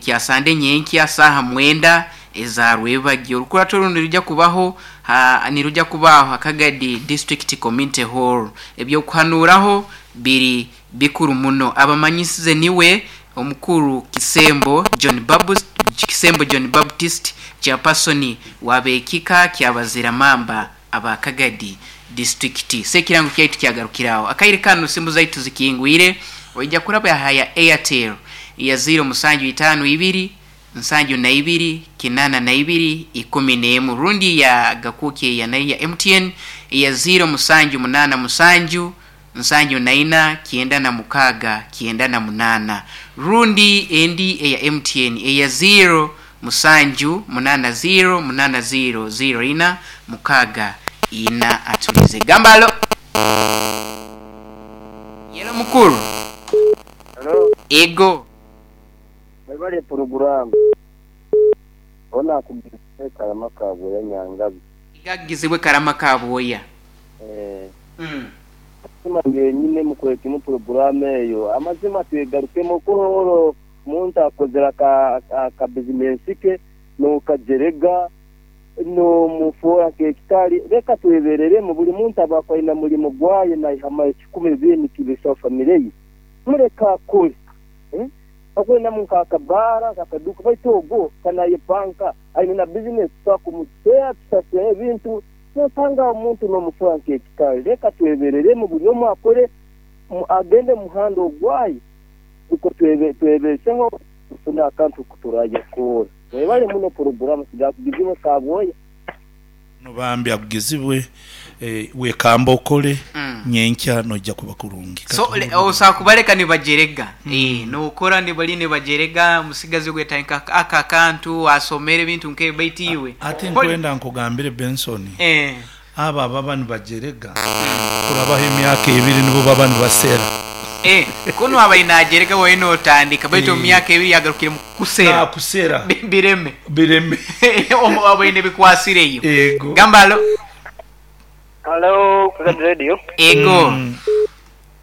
Kyasande nyenkya saaha mwenda eza rwebagyo. Orukurato runu nirwija kubaho ha nirwija kubaho ha Kagadi District Community Hall. Eby'okuhanuuraho biri Bikuru muno. Abamanyisize niwe Omukuru Kisembo John Babust, Kisembo John Baptist, Chairperson w'ab'ekika kya Baziramamba aba Kagadi District. So ekirango kyaitu kyagarukira aho. Akaire kanu simu zaitu zikingwire, oija kuraba aha ya Airtel ya ziiro musanju itaano ibiri, nsanju na ibiri, kinaana na ibiri, ikumi n'emu rundi ya Gakuki eya nayo ya MTN eya ziiro musanju munaana musanju, nsanju na ina, kyenda na mukaaga, kyenda na munaana. Rundi endi eya MTN eya ziiro musanju munaana ziiro munaana ziiro ziiro ina mukaaga ina. Atulize. Gamba halo. Yelo mukuru. Halo. Ego. Mwebale puroguramu. Ono akugizibwe Karama Kabwoya Nyangabi. Iga akugizibwe Karama Kabwoya. Eeh. Amazima genyine mukorekimu puroguramu eyo. Amazima twegarukemu okuhoro. Omuntu akozire akabizinensi ke n'okajerega n'omufoora nk'ekitali. Leka twebereremu, buli muntu aba aine mulimo gwaye naihamu ekikumi bibiri nikibesaho famire ye. Muleke akole. Akwinamu nk'akabaara, nk'akaduuka baitu ogwo kanayepanka aine na bizinesi tusobora kumuteera tusasule ebintu nosanga omuntu n'omufoora nk'ekitali. Leka twebereremu buli omu akole agende mu muhanda ogwaye nukwo twebeseho tufune akantu kuturayekora. Webale muno puroguramu sigakugizibwe Kabwoya. No bambi akugizibwe wekamba okole nyenkya noija kuba kurungi. So osobola kubaleka nibajerega nokora nibali nibajerega omusigazi ogwo yatandika ako akantu asomere ebintu nkebyo baitu iwe Ate nkwenda nkugambire Benson, abo ababa nibajerega kurabaho emyaka ebiri nibo baba nibasera. Kunu abaire najerega waine notandika baitu omu myaka ebiri yagarukire mu kusera. Nakusera. Bireme. Bireme. Obaine bikwasireyo. Ego. Gamba alo. Halo, Crusade Radio. Ego.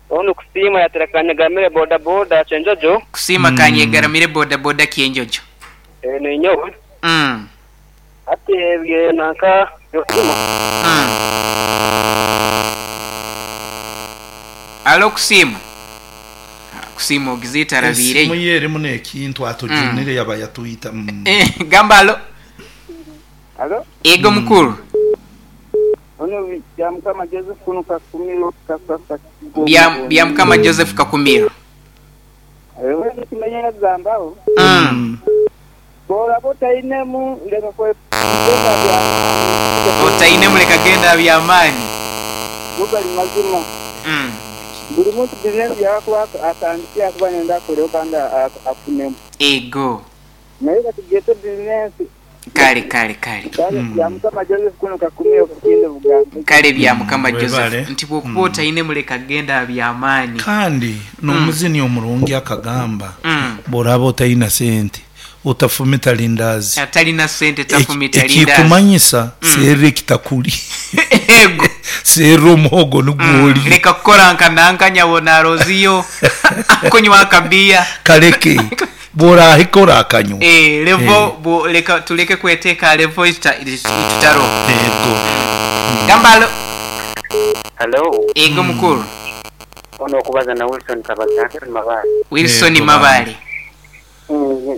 Onu Kusiima yatera Kanyegaramire boda boda Kyenjojo. Kusiima Kanyegaramire boda boda Kyenjojo. Ninyowe. Hati ebye nanka by'okusiima. Alo Kusiima. Kusiima ogize etarabiireyo. Esimu ye erimu n'ekintu atujunire yaba yatwita. Gamba alo. Alo. Ego mukuru. Ono Byamukama Joseph kuno Kakumiro Kasasa. Byamukama Joseph Kakumiro. Ewe kimenya gambaho. Bw'oraba otainemu leka kwegenda by'amaani. Otainemu leka genda by'amaani. Go gali mazima. Buli muntu bizinensi yakuba atandikire akuba nayenda akoleho kandi afunemu. Ego. Naye katugyete bizinensi. Kale kale kale. Kale Byamukama Joseph kuno Kakumiro Kakinde Buganda. Kale Byamukama Joseph nti bw'okuba otainemu leka genda by'amaani. Kandi n'omuzini omurungi akagamba bw'oraba otaina sente otafumita lindazi. Atalina sente tafumita lindazi. Ekikumanyisa serra ekitakuli. Ego. Serra omuhogo nigwo oli. Leka kukora nka nanka nyabona aroziyo kunywa akabiya. Kaleke bw'orahika orakanywa. Levo bo leka tuleke kweteka levo itutaro. Ego. Gambalo. Hello. Ego mukuru. Ono okubaza na Wilson Kabazange Mabale. Wilson Mabale.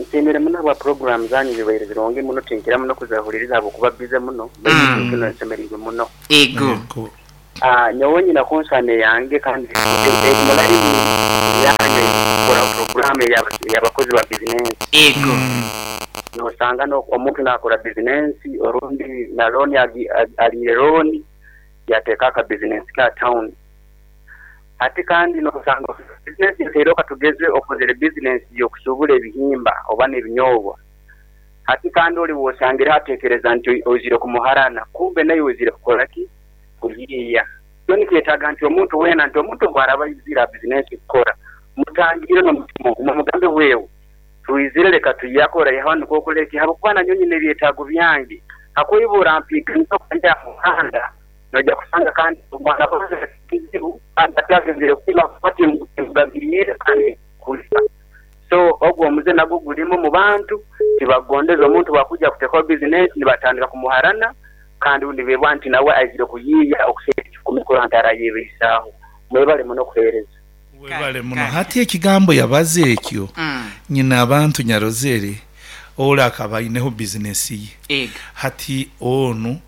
Nsiimire muno ahabwa puroguramu zanyu zibaire zirungi muno tinkira muno kuzahuririza ahabw'okuba bize muno baitu nsemereirwe muno. Ego. Nyowe nyina konsani yange kandi emulaini yange kora puroguramu y'abakozi ba bizinensi. Ego. Nosanga omuntu nakora bizinensi orundi na looni aliire looni yateeka aka bizinensi ka town. Ati kandi nosanga bizinensi nseire katugeze okozere bizinensi y'okusubula ebihimba oba n'ebinyobwa. Ati kandi oli wosangire hatekereza nti ozire kumuharana kumbe naye ozire kukola ki kuyiiya. So nikyetaaga nti omuntu weena nti omuntu bw'araba aizire bizinensi kukora mutangire n'omutima ogumu mugambe wewe twizire leka tuyakora yaha nukwo okoleki habwokuba nanyowe nyine ebyetaago byange hakwibura mpiiganiza okugenda aha muhanda noija kusanga kandi omwana kizibu kandi atagenzere kuima kuba timugabiriire kandi kulya. So ogwo omuze nagwo gulimu mu bantu tibagondeza omuntu bwakuja kutekaho bizinensi nibatandika kumuharana kandi undi bebwa nti nawe aizire kuyiiya okuseera ekikumi kurora nti arayebeisaaho. Mwebale muno okuheereza. Webale muno. Hati ekigambo yabaza ekyo nyina abantu nyarozere ole akaba aineho bizinesi ye. Hati onu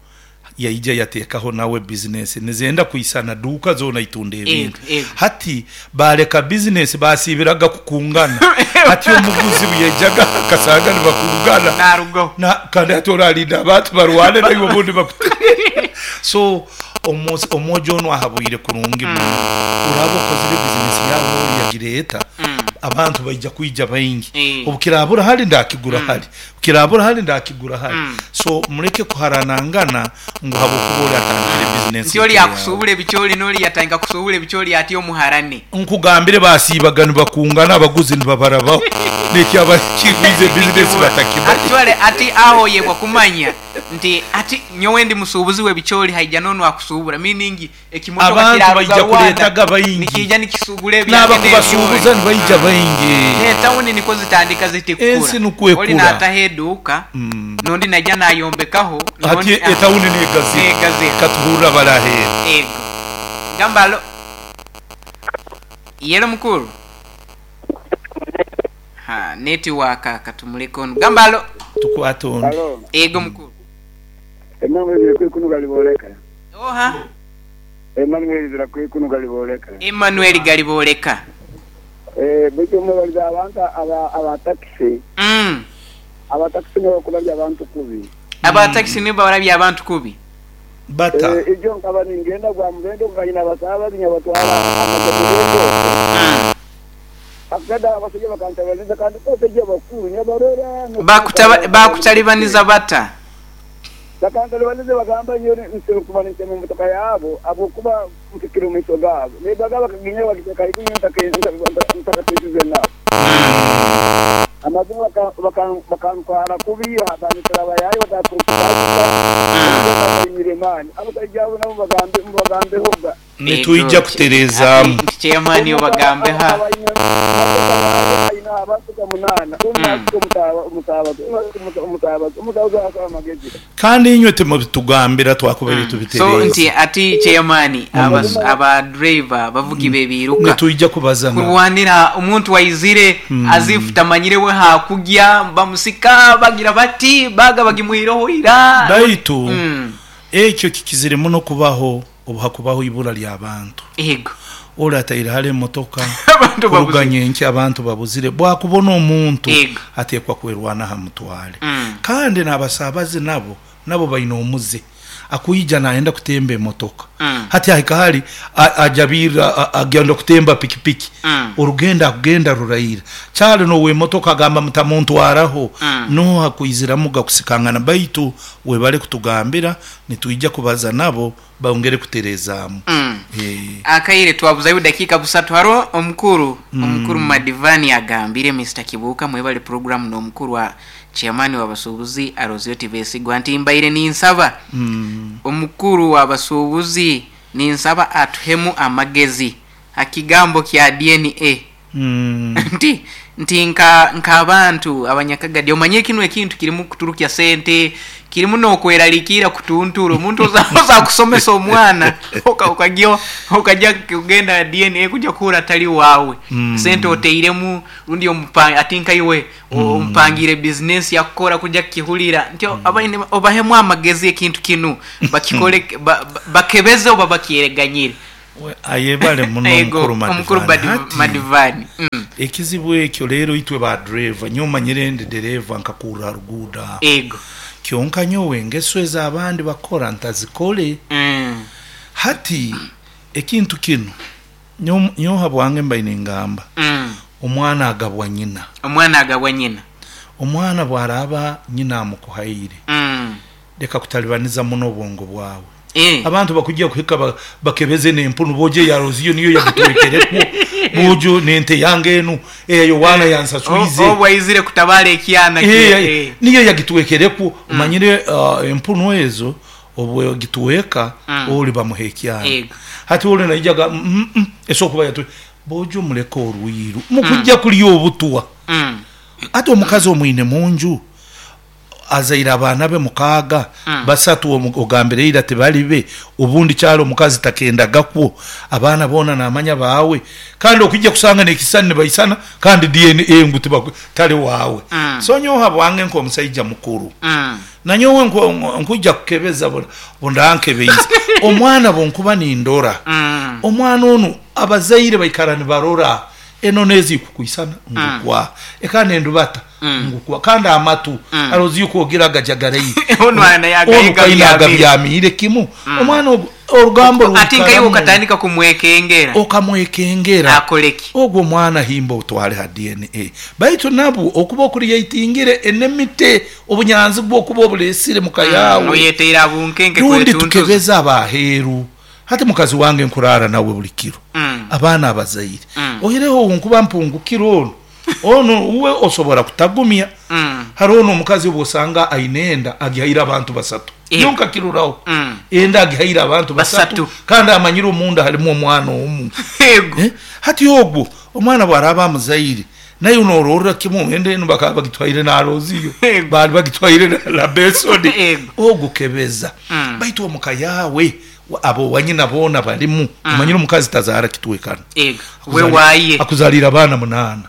yaija yateekaho nawe bizinesi nizenda kwisana duuka zoona itunda ebintu. Hati baleka bizinesi basiibiraga kukungana. Hati omuguzi buyaijaga akasanga nibakungana. Narugaho. Kandi hati oralinda abantu barwane naiwe obundi bakute. So omwojo onu ahabwire kurungi muno. Oraba okozire bizinesi yawe ori yagireeta abantu baija kwija baingi. Obukirabura hali ndakigura hali. Obukirabura hali ndakigura hali. So muleke kuharanangana ngu habwokuba ori atandikire bizinesi. Nti ori akusubula ebikyoli n'ori yatandika kusubula ebikyoli ati omuharane. Nkugambire basiibaga nibakungana abaguzi nibabarabaho. Nekyaba kigwize bizinesi batakimanya. Actually ati aho yebwa kumanya Nti ati nyowe ndi musuubuzi w'ebicooli haija n'onu akusuubura meaning ekimotoka Abantu kiraruga baija Rwanda kuleetaga baingi. nikiija nikisuubura ebyange n'ebicooli. N'abakubasuubuza nibaija baingi. N'etawuni nikwo zitandika ziti kukura. Ensi nukwo Oli ekura. naataho eduuka, n'ondi naija nayombekaho, Hati n'ondi etawuni n'egaziha. N'egaziha. Katuhurre abari aheeru. Ego. Gamba alo. Yelo mukuru. Ha, netiwaaka katumuleke onu. Gamba alo. Tukwate ondi. Alo. Ego mukuru. Emmanuel Birakwikuno Galibooleka. Oha? Emmanuel Birakwikuno Galibooleka. Emmanuel Galibooleka. Eh, baitu omwebalize abantu aba aba takisi. Aba takisi nibo bakurabya abantu kubi. Aba takisi nibo barabya abantu kubi? Bata. Eh, ijo nkaba ningenda gwa mubendo nga nyine abasaabazi nyabatwara amaze mubendo okwo. Akada abasaija bakantabaniza kandi basaija bakuru nyabarora. Bakutalibaniza bata? Bakantalibaniza bagamba nyowe nsobora kuba nintema emotoka yabo habwokuba mpikire omu maiso gaabo. Nebaga bakaginya bagiteeka haiguru nyowe ntakatwikize nabo. Amazima bakantwara kubi, bandetera abayaayi batakurukubaasisa, baimire maani. Abasaija abo nabo mubagambehoga. Nitwija kutereezaamu. Nti chairman obagambe ha. Kandi inywe timubitugambira twakubaire So tubitereeza. nti ati chairman aba driver bavugi bebiruka. Nitwija kubaza nabo. Kurwanira omuntu aizire as if tamanyire we hakugya bamusika bagira bati baga bagimuireho ira. Baitu ekyo kikizire muno kubaho obu hakubaho ibura ly'abantu. Ego. Ori ataire hare emotoka Abantu kuruga babuzire. nyenkya abantu babuzire. Bwakubona omuntu Ego. ateekwa kwerwanaho amutware. Kandi n'abasaabaze nabo nabo baine omuze. Akwija nayenda kutemba emotoka. Hati ahika hari ajabirra agenda kutemba pikipiki. Orugendo akugenda ruraira. Kyali n'owemotoka agamba mutamuntwaraho. Noha kwiziramu gakusikangana baitu webale kutugambira nitwija kubaza nabo bongere kutereezaamu. Akaire twabuzayo dakika busatu haro omukuru omukuru Madivani agambire Mr Kibuuka mwebale program n'omukuru wa chairman w'abasuubuzi Arozio Tibesigwa nti mbaire ninsaba omukuru w'abasuubuzi ninsaba atuhemu amagezi akigambo kya DNA. Nti nti nka nk'abantu abanyakagadi omanye kinu ekintu kirimu kuturukya sente kirimu n'okweraliikirira kutuntura omuntu oza kusomesa omwana ukajya ukajya kugenda DNA kujya kuhura atali wawe. Sente oteiremu rundi ati nkaiwe ompangire business yakukora kujya kukihurira nti abaine obahemu amagezi ekintu kinu bakikole bakebeze oba bakyereganyire. Ayebale muno Ego, omukuru omukuru Madivani. Hati, Madivani. Ekizibu ekyo leero itwe ba driver nyowe manyire ndi dereva nkakurra ruguudo aho. Ego. Kyonka nyowe engeso ez'abandi bakora ntazikole. Hati ekintu kinu nyowe habwange mbaine ngamba. Omwana agabwa nyina. Omwana agabwa nyina. Omwana bw'araaba nyina amukuhaire. Leka kutalibaniza muno obwongo bwawe. Abantu bakujja kuhika bakebeze n'empunu boje yaroziyo niyo yagutwekerekwo bojo n'ente yange enu eyo wana yansaswize. Obwaizire kutabala ekyana Niyo yagitwekerekwo omanyire empunu ezo obwe gitweka oli bamuha ekyana. Hati oli naijaga esokuba yatwe bojo muleka orwiru mukujja kulya obutwa. Ate omukazi omwine munju azaire abaana be mukaaga basatu ogambire ira tibali be obundi kyalo omukazi takendagakwo abaana boona namanya baawe kandi okujja kusanga n'ekisani nibaisana kandi DNA ngu tali waawe. So nyowe habwange nk'omusaija mukuru. Nanyowe nkujja kukebeza bundankebeize. Omwana bonkuba nindora. Omwana onu abazaire baikara nibarora eno nezi kukuisana ngukwa ekane ndubata ngukwa kandi amatu arozi yuko ogira gajagarai Ono ana yagayiga byamire kimu. Omwana orugambo ati nkayo ukatandika kumwekengera okamwekengera akoleki ogwo mwana himba utwale ha DNA baitu nabo okuba okuriyatingire enemite obunyanzi bwo kuba obulesire mukayawe oyeteira bunkenke kwetuntu tukebeza abaheru hati mukazi wange nkurara nawe buli kiro. Abaana abazaire ohireho nkuba mpungukiro ono Onu uwe osobora kutagumya. Haroho n'omukazi obu osanga aine enda agihaire abantu basatu. Nyowe nkakiruraho. Enda agihaire abantu basatu kandi amanyire omunda halimu omwana omu. Hati ogwo omwana obu araaba amuzaire, naiwe nororra kimu enda enu bakaba bagitwaire na Aloziyo, baali bagitwaire na Bensoni. Ogwo kebeza. Baitu omu ka yaawe ab'owanyina boona balimu. Omanyire omukazi tazaara kitwekano. Akuzaliire abaana munaana.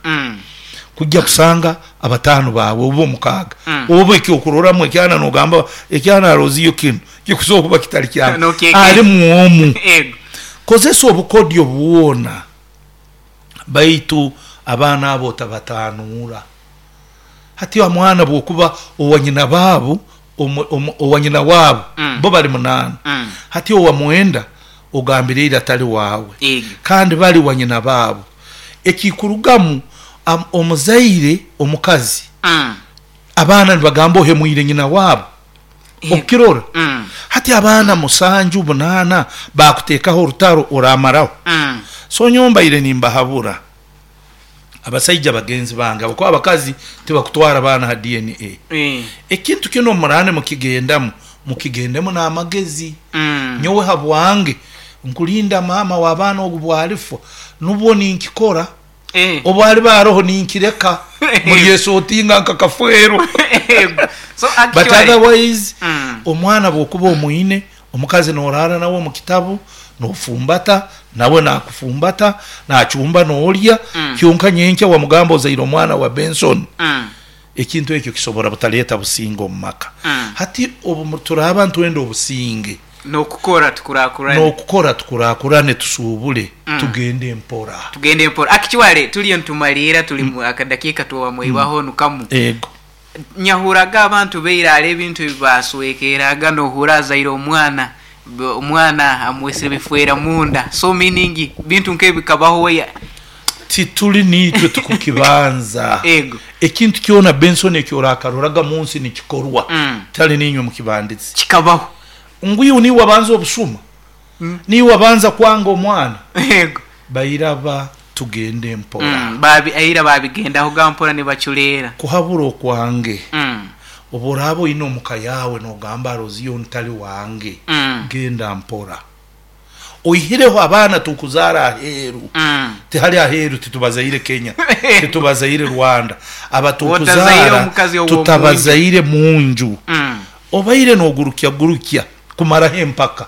Kujja kusanga abataano baawe oba omukaaga, oba ekyokuroramu ekyana nogamba ekyana Aloziyo kinu kikusobora kuba kitali kyange, alimu omu. Kozesa obukodyo bwona baitu abaana abo otabatanuura. Hati omwana bwokuba owa nyina baabu, owa nyina waabu, bo bali munaana, hati owa mwenda ogambire ira tali waawe, kandi bali wa nyina baabu. Ekikurugamu omuzaire omukazi, abaana nibagamba ohemwire nyina waabu. Okukirora? Hati abaana musanju, munaana bakuteekaho orutaro oramaraho. So nyowe mbaire nimbahabura abasaija bagenzi bange habwokuba abakazi tibakutwara abaana ha DNA. Ekintu kinu obu muraaba nimukigendamu, mukigendemu n'amagezi. Nyowe habwange nkulinda maama w'abaana ogu bwalifwa nubwo ninkikora. Obu aliba aroho ninkireka mulyesotinga nka kafwero. But otherwise omwana bwokuba omwine, omukazi noraara nawe omu kitabu, nofumbata, nawe nakufumbata, nacumba nolya, kyonka nyenkya wamugamba ozaire omwana wa Benson, ekintu ekyo kisobora butaleta businge omu maka. Hati obu turaaba nitwenda obusinge, N'okukora tukurakurane. N'okukora tukurakurane tusuubule tugende mpora. Tugende mpora. Actually tuliyo nitumaliira tuli mu akadakiika twamwibaho nu kamu. Ego. Nyahuraga abantu baira hare ebintu ebi baswekeeraga nohurra azaire omwana, omwana amwesire bifwera munda so meaning bintu nkebi bikabaho ya. Tituli niitwe tukukibanza. Ego. Ekintu kyona Benson eki orakaroraga munsi nikikorwa tihali niinywe mukibandize. Kikabaho. Ngu iwe niiwe wabanza obusuma? Niiwe wabanza kwanga omwana? Ego. Bairaba tugende mpora. Aira babigendahoga mpora nibaculeera. Kuhabura okwange, obu oraaba oine omuka yaawe nogamba Roziyo onu tali wange, genda mpora. Oihireho abaana tukuzaara aheeru, tihali aheeru titubazaire Kenya, titubazaire Rwanda, aba tukuzaara tutabazaire munju. Obaire nogurukya gurukya kumaraho empaka,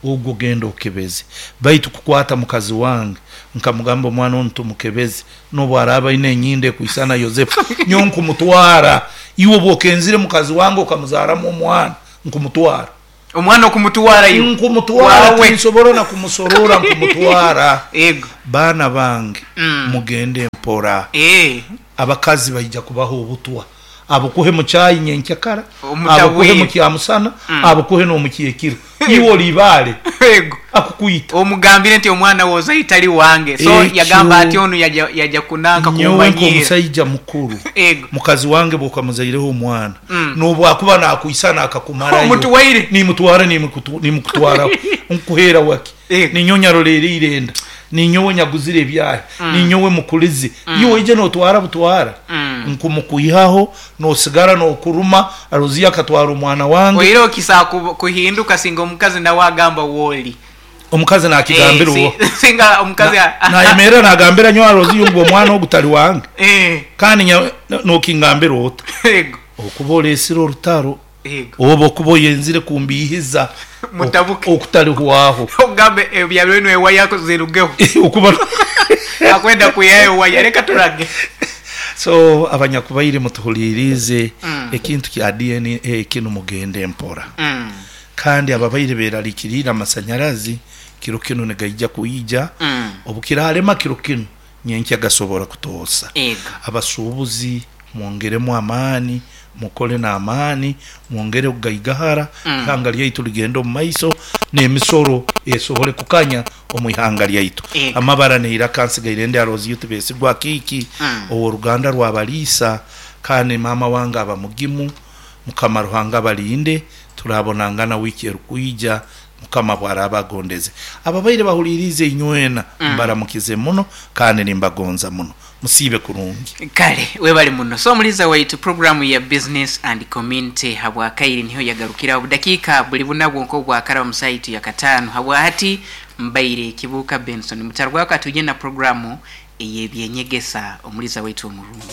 ogwo genda okebeze. Baitu kukwata mukazi wange nkamugamba omwana onu tumukebeze, nobu araaba aine enyindo ekwisana Yosefu, nyowe nkumutwara. Iwe obu okenzire mukazi wange okamuzaaramu omwana, nkumutwara. Omwana okumutwara iwe? Nkumutwara, tinsobora na kumusorora nkumutwara. Ego. Baana bange, mugende mpora. Abakazi baija kubaha obutwa. Abukuhe mu chai nyenkyakara, abukuhe mu kyamusana, abukuhe n'omu kyekiro. Iwe oli ibaale, akukwita. Omugambire nti omwana we ozaire tali wange. So yagamba ati onu yaja kunanka Nyowe kummanyiira. nk'omusaija mukuru, mukazi wange bw'okamuzaireho omwana, n'obu akuba naakwisana akakumarayo, Omutwaire. nimutwara nimukutwaraho. Nkukuheera waki? Ninyowe nyarolereire enda, ninyowe nyaguzire ebyahi, ninyowe mukulize. Iwe oije notwara butwara, nkumukwihaho, nosigara nokuruma, Roziya akatwara omwana wange. Oihireho kisobola kuhinduka singa omukazi nawe agamba woli. Omukazi nakigambira owa. Singa omukazi Nayemerra nagambira nyowe Roziya ngu omwana ogu tali wange. Kandi nokingambira ota? Okuba olesire orutaro. Oba okuba oyenzire kumbiihiza Mutabuke. okutalihwaho. Ogambe ebya binu ewaya zirugeho. Okuba Akwenda kwihayo ewaya leka turage. So abanyakubaire mutuhuliiriize ekintu kya DNA kinu mugende mpora. Kandi ababaire beralikiriire amasanyarazi kiro kinu nigaija kwija. Obu kiraalema kiro kinu nyenkya gasobora kutoosa. Abasuubuzi mwongeremu amaani, mukole n'amaani, mwongere kugaigahara, ihanga lyaitu ligende omu maiso, n'emisoro esobole kukanya omu ihanga lyaitu. Amabara n'eiraka nsigaire ndi Aloziyo Tibesigwa Akiiki, ow'oruganda rwa Baliisa, kandi maama wange aba mugimu. Mukama Ruhanga abalinde, turabonangana wiiki erukwija. Mukama bwaraaba agondeze. Ababaire bahuliiriize inywena mbaramukize muno kandi nimbagonza muno. Musiibe kurungi. Kale webale muno. So omuliza waitu programu ya Business and Community habwakaire niho yagarukiraho obudakiika buli buna bwonka obwakaraba mu saaha yaitu ya kataano. Habwahati mbaire Kibuuka Benson. Mutarugwaho katwije na programu ey'ebyenyegesa omuliza waitu omurungi.